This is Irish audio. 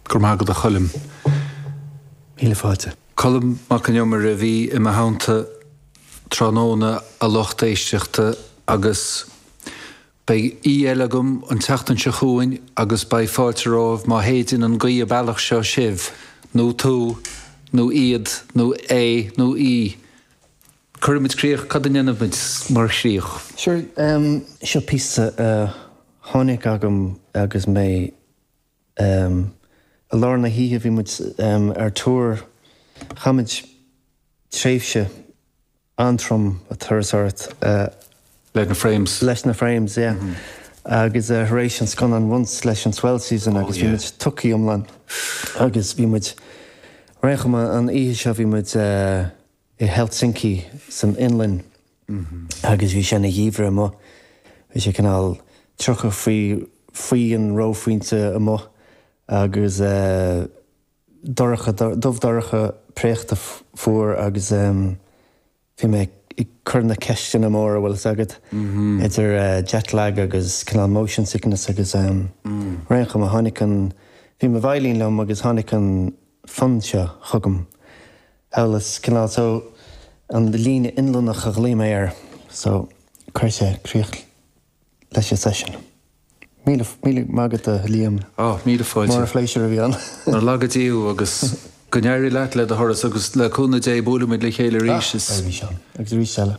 Go raibh maith agat a Choilm. Míle fáilte. Colm Mac Con Iomaire a bhí i mo theannta tráthnóna a lucht éisteachta agus beidh aoi eile agam an tseachtain seo chugainn agus beidh fáilte romhaibh má shéideann an ghaoth an bealach seo sibh, nó tú, nó iad, nó é, nó í. Cuirfimid críoch, cad a ndéanfaimid mar chríoch? Sure, seo píosa a tháinig agam agus mé I lár na hoíche bhí muid ar tour, chaith muid tréimhse an-trom ag turasóireacht. Leis na Frames. Leis na Frames, yeah. Agus tar éis an scannán Once leis an Swell Season agus bhí muid tugtha iomlán agus bhí muid, ar aon chuma an oíche seo bhí muid i Helsinki san Fhionlainn agus bhí sé ina gheimhreadh amuigh. Bhí sé cineál 30 faoi faoi an reophointe amuigh agus dorcha, dubh dorcha, préachta fuar agus bhí mé ag cur na ceisteanna móra, bhfuil fhios agat, idir jet lag agus cineál motion sickness agus ar aon chuma tháinig an, bhí mo veidhlín liom agus tháinig an fonn seo chugam. Amhail cineál so an líne Fhionlannach a ghlaoigh mé air so chuir sé críoch leis an session. Míle míle maith agat a Liam. Á, míle fáilte. Mór an phléisiúr a bhí ann. Nár laga Dia thú agus go n-éirí leat le do thuras agus le cúnamh Dé buailfimid le chéile arís. Ah, beidh ann agus arís eile.